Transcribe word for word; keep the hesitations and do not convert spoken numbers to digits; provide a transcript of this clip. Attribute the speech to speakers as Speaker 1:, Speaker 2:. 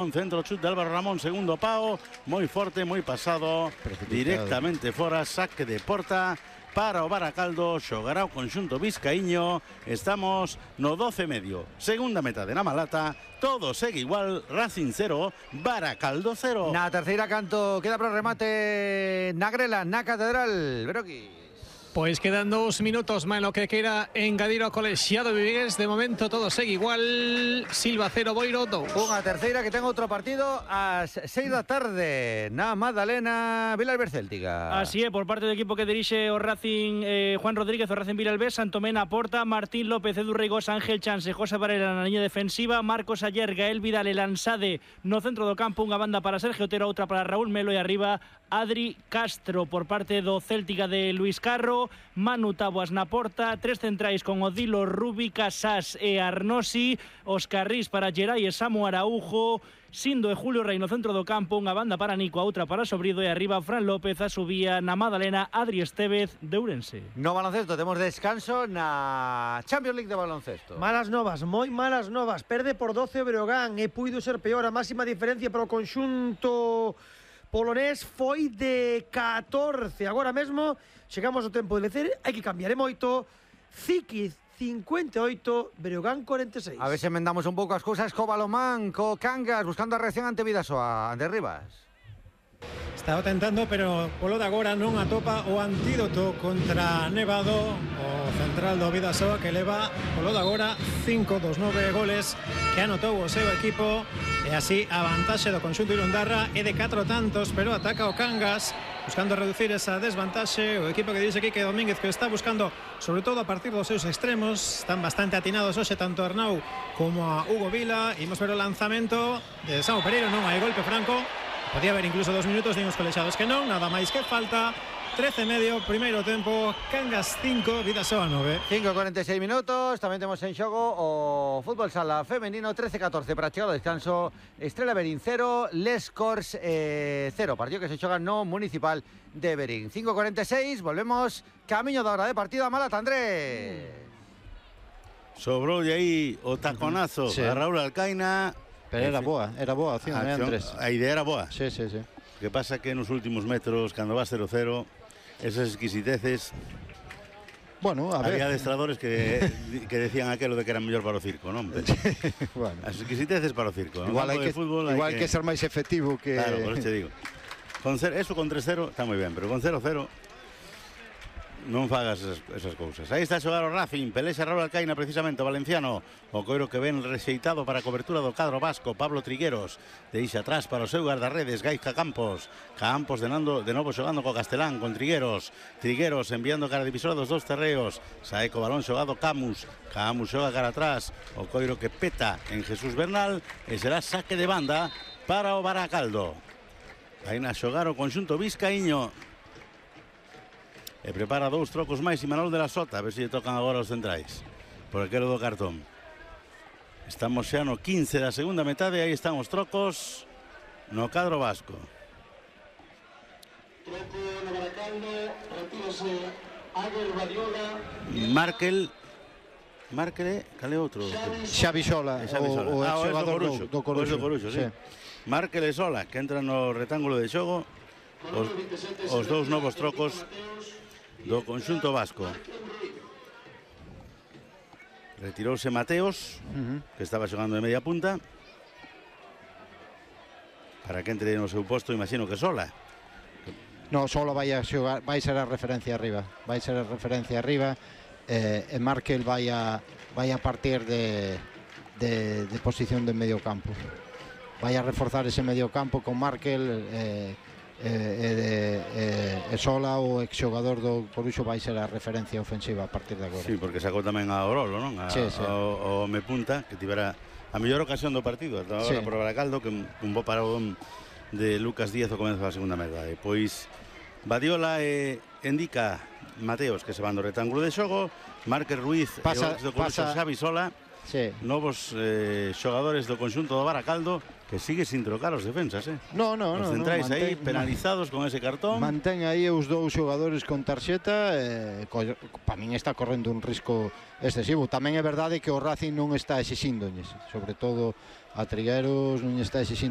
Speaker 1: Un centro chut de Álvaro Ramón, segundo pao, moi forte, moi pasado, directamente fora, saque de porta para o Baracaldo, xogará o conxunto vizcaíño. Estamos no doce e medio, segunda metade na Malata, todo segue igual, Racing cero, Baracaldo cero.
Speaker 2: Na terceira canto, queda para o remate na Grela, na Catedral, Beroquis.
Speaker 3: Pois quedan dous minutos máis lo que queira engadir ao colexiado Vigués. De momento todo segue igual. Silva cero, Boiro dous.
Speaker 2: Unha terceira que ten outro partido ás seis da tarde na Madalena, Vilalbés Céltica.
Speaker 4: Así é, por parte do equipo que dirixe o Racing, eh, Juan Rodríguez, o Racing Vilalbés, Santomena Porta, Martín López, Edu Reigós, Ángel Chanse, José Varela na liña defensiva, Marcos Ayer, Gael Vidal e Lansade no centro do campo, unha banda para Sergio Otero, outra para Raúl Melo e arriba Adri Castro por parte do Céltica de Luis Carro, Manu Taboas na porta, tres centrais con Odilo, Rubi, Casás e Arnosi, os carrís para Gerai e Samu Araujo, Sindo e Julio Rey no centro do campo, unha banda para Nico, a outra para Sobrido e arriba Fran López, a subía na Madalena, Adri Estevez de Ourense.
Speaker 2: No baloncesto temos descanso na Champions League de baloncesto.
Speaker 5: Malas novas, moi malas novas. Perde por doce o Breogán e puido ser peor. A máxima diferencia para o conxunto polonés foi de catorce. Agora mesmo chegamos ao tempo de decir, hai que cambiar e moito. Ziquiz cincuenta e oito, Breogán cuarenta e seis.
Speaker 2: A ver se emendamos un pouco as cousas co Balomán, co Cangas, buscando a reacción ante Vidasoa, ante Rivas.
Speaker 6: Está tentando, pero polo de agora non atopa o antídoto contra Nevado, o central do Vidasoa, que leva polo de agora cinco dos nove goles que anotou o seu equipo, e así a vantaxe do conxunto irundarra é de catro tantos, pero ataca o Cangas buscando reducir esa desvantaxe. O equipo que dice Quique Domínguez, que está buscando sobre todo a partir dos seus extremos, están bastante atinados hoxe tanto a Arnau como a Hugo Vila. Imos ver o lanzamento de Samu Pereiro, non hai golpe franco. Podía haber incluso dos minutos, din os colexiados que non, nada máis que falta. trece e medio, primeiro tempo, Cangas cinco, Vidasoa nove.
Speaker 2: cinco e cuarenta e seis minutos, tamén temos en xogo o fútbol sala femenino, trece a catorce para chegar ao descanso. Estrela Berín cero, Les Corts eh, cero, partido que se xoga no municipal de Berín. cinco e cuarenta e seis, volvemos camiño da hora de partido a Malata, Andrés.
Speaker 1: Sobrou de aí o taconazo
Speaker 7: sí.
Speaker 1: a Raúl Alcaina.
Speaker 7: Pero era boa, era boa a acción,
Speaker 1: a,
Speaker 7: eh,
Speaker 1: acción,
Speaker 7: Andrés?
Speaker 1: A idea era boa.
Speaker 7: Sí, sí, sí.
Speaker 1: O que pasa que nos últimos metros, cando vas cero cero, esas exquisiteces.
Speaker 7: Bueno, a ver.
Speaker 1: Había adestradores que, que decían aquelo de que era mellor para o circo, non?
Speaker 7: Bueno.
Speaker 1: As exquisiteces para o circo.
Speaker 7: Igual hai que,
Speaker 1: fútbol,
Speaker 7: igual
Speaker 1: hai
Speaker 7: que... que ser máis efectivo que...
Speaker 1: Claro, por eso te digo. Con cer... Eso con tres cero está moi ben, pero con cero cero non fagas esas, esas cousas. Aí está a xogar o Racing, pelexa Raúl Alcaina precisamente, o valenciano, o coiro que ven rexeitado para a cobertura do cadro vasco. Pablo Trigueros deixa atrás para o seu guardarredes Gaizka Campos. Campos de, nando, de novo xogando co Castelán con Trigueros. Trigueros enviando cara divisora dos dos terreos. Sae co balón xogado Camus. Camus xoga cara atrás, o coiro que peta en Jesús Bernal, e será saque de banda para o Baracaldo. Aí na xogar o conxunto vizcaíño. E prepara dous trocos máis Imanol de la Sota, a ver se lle tocan agora os centrais por aquelo do cartón. Estamos xa no quince da segunda metade, aí están os trocos no cadro vasco. Markel Markel, cal é outro?
Speaker 7: Xavi Sola,
Speaker 1: Xavi Sola.
Speaker 7: o, o
Speaker 1: ah,
Speaker 7: xogador do, do Coruxo,
Speaker 1: do Coruxo, sí. Sí. Markel e Sola, que entran no retángulo de xogo. Os, os dous novos trocos do conxunto vasco. Retirouse Mateos, uh-huh. que estaba xogando de media punta, para que entre no seu posto, imagino que Sola.
Speaker 7: No, Sola vai a xogar, vai ser a referencia arriba, vai ser a referencia arriba, eh, e Markel vai a, vai a partir de, de, de posición de medio campo. Vai a reforzar ese medio campo con Markel, eh, E, e, e, e Sola, o exxogador do Coruxo, vai ser a referencia ofensiva a partir de agora.
Speaker 1: Sí, porque sacou tamén a Orolo, non? A,
Speaker 7: sí, sí.
Speaker 1: O, o me punta, que tivera a mellor ocasión do partido ata agora sí. Por Baracaldo, que un bo paradón de Lucas Díaz ao comezo da segunda metade. Pois Badiola e Indica Mateos, que se van do retángulo de xogo. Márquez Ruiz
Speaker 7: pasa,
Speaker 1: e o do Coruxo
Speaker 7: pasa...
Speaker 1: Xavi Sola.
Speaker 7: Sí.
Speaker 1: Novos eh, xogadores do conxunto do Baracaldo, que sigue sin trocar os defensas, eh?
Speaker 7: No, no,
Speaker 1: os
Speaker 7: no.
Speaker 1: centrais
Speaker 7: no,
Speaker 1: aí penalizados con ese cartón.
Speaker 7: Mantén aí os dous xogadores con tarxeta, eh, para min está correndo un risco excesivo. Tamén é verdade que o Racing non está exixíndoñes, sobre todo a Trigueros non está exixindo